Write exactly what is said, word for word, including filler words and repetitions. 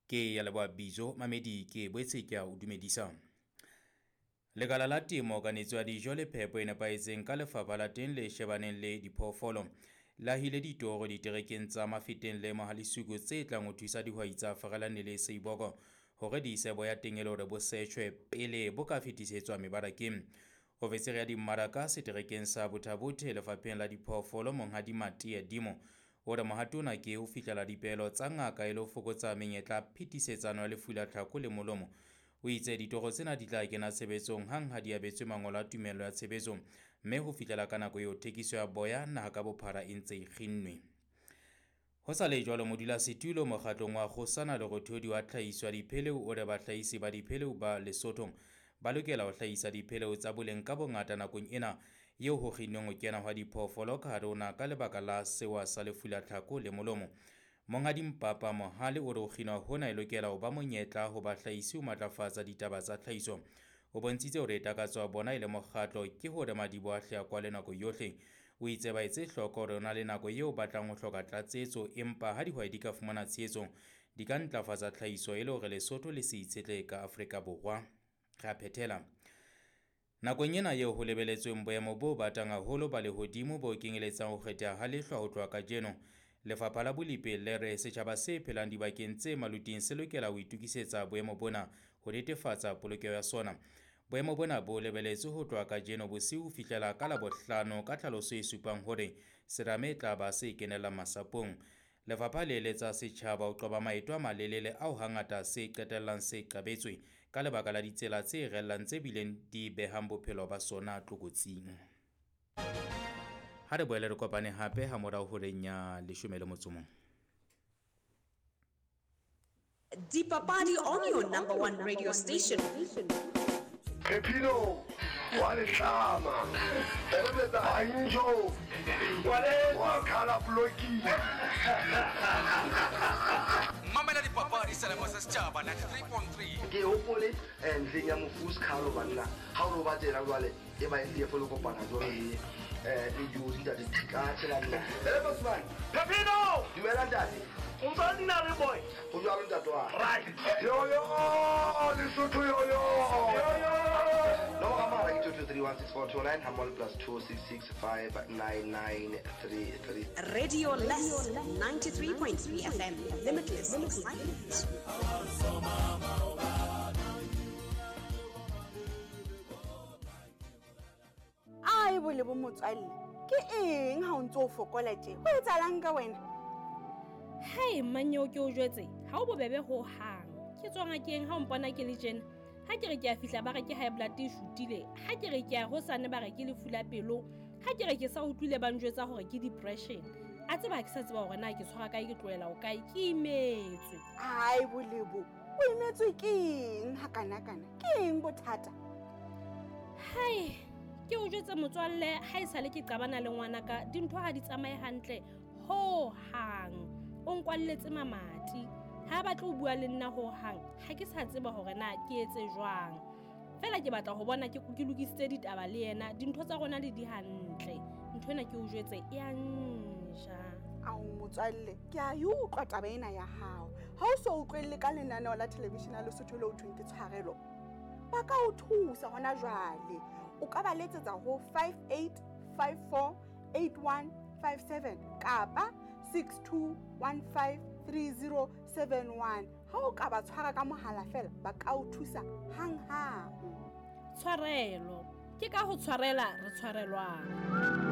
Ke ya leboha Bizo Mamedi, ke boetse ke a o dumedisa. Lekala la temo, kanetso ya dijo le phepo e nepahetseng ka lefapha la teng le shebaneng le diphoofolo le ahile ditoro diterekeng tsa Mafeteng le Mohalisuku tse tlang ho thusa dihwai tsa Farelane le Seiboko hore di ise boya teng e le hore bo setjhwe pele bo ka fetisetswa mebarakeng. Ofisiri ya dimmaraka seterekeng sa Botha-Bothe lefapheng la diphoofolo Monghadi Matie Dimo o re mohato ona ke ho fihlela dipehelo tsa ngaka e le ho fokotsa menyetla phetisetsano ya lefu la tlhako le molomo. O itse ditoro tsena di tla kena tshebetsong hang ha di abetswe mangolo a tumello ya tshebetso, mme ho fihlela ka nako eo thekiso ya boya naha ka bophara e ntse e kginnwe. Ho sa le jwalo, modulasetulo mokgatlong wa Kgosana Lerothodi wa tlhahiso ya dipheleu o re bahlahisi ba dipheleu ba Lesotho ba lokela ho hlahisa dipheleu tsa boleng ka bongata nakong ena eo ho kginnweng ho kena hwa diphoofolo ka hare ho naha ka lebaka la sewa sa lefu la tlhako le molomo. Monghadi Mpapa Mohale o re ho kginwa hona e lokela ho ba monyetla ho bahlahisi ho matlafatsa ditaba tsa tlhahiso. O bontshitse hore takatso ya bona e le mokgatlo ke hore madiboho a hle a kwale nako yohle. O itse ba etse hloko hore ho na le nako eo ba tlang ho hloka tlatsetso, empa ha dihwai di ka fumana tshehetso di ka ntlafatsa tlhahiso e le hore Lesotho le se itshetlehe ka Afrika Borwa. Re a phethela. Nakong ena eo ho lebeletsweng boemo bo batang haholo ba lehodimo bo kenyeletsang ho kgetheha ha lehlwa ho tloha kajeno, Lefapha la Bolipi le re setjhaba se phelang dibakeng tse maluting se lokela ho itokisetsa boemo bona ho netefatsa polokeho ya sona. Boemo bona bo lebeletswe ho tloha kajeno bosiu ho fihlela ka Labohlano ka tlhaloso e supang hore serame e tla ba se kenella masapong. Lefapha le eletsa setjhaba ho qoba maeto a malelele ao hangata se qetellang se qabetswe ka lebaka la ditsela tse rellang tse bileng di behang bophelo ba sona tlokotsing. Ha re boele re kopane hape ha morao horeng ya leshome le motso mong. Dipapadi on your number one radio station. Pepino wa letlama, Banjo wa khala bloki. Mamela dipapadi selemo sa setjhaba ninety-three point three. Ke hopole ntleng ya mofu Skhalo banna. Ha o roba tsela jwale e ba e folo kopana jwalo le eh le Jozi ntate ka tsela nna. Hele Bosman. Pepino! Dumela ntate. O ntse nna le boy. O jwalo ntate wa. Right. Yo yo, Lesotho yo yo. Yo yo. No amara ke two two three one six four two nine hamol plus two six six five nine nine three three. Radio Less ninety-three point three F M. Limitless excitement. Ai bole bo motswalle, ke eng ha o ntse o fokola tje? Ho etsahalang ka wena? Hai manyeo ke o jwetse, ha o bobebe ho hang. Ke tswa ngakeng ha o mpona ke le tjena. Ha ke re ke a fihla ba re ke high blood e shutile, ha ke re ke a hosane ba re ke lefu la pelo, ha ke re ke sa utlwile ba njwetsa hore ke depression. A tseba ke sa tseba hore na ke tshwara kae ke tlohela o kae, ke imetswe. Ai bolebo, o imetswe ke eng ha kana kana? Ke eng bothata? Hai, ke o jwetse motswalle, ha e sale ke qabana le ngwana ka, dintho ha di tsamaye hantle ho hang. O nkwalletse mamati. Ha ba tlo bua le nna ho hang, ha ke sa tseba hore na ke etse jwang. Fela ke batla ho bona ke ke lokisitse ditaba le yena, dintho tsa rona le di hantle. Ntho ena ke o jwetse e a nja. Ao motswalle, ke a e utlwa taba ena ya hao. Ha o so utlwelle ka lenaneo la television la Lesotho le ho thweng ke Tshwarelo, ba ka o thusa hona jwale. O ka ba letsetsa ho five eight five four eight one five seven kapa six two one five three zero seven one. Ha o ka ba tshwara ka mohala fela, ba ka o thusa hang hang. Tshwarelo ke ka ho tshwarela re tshwarelwang.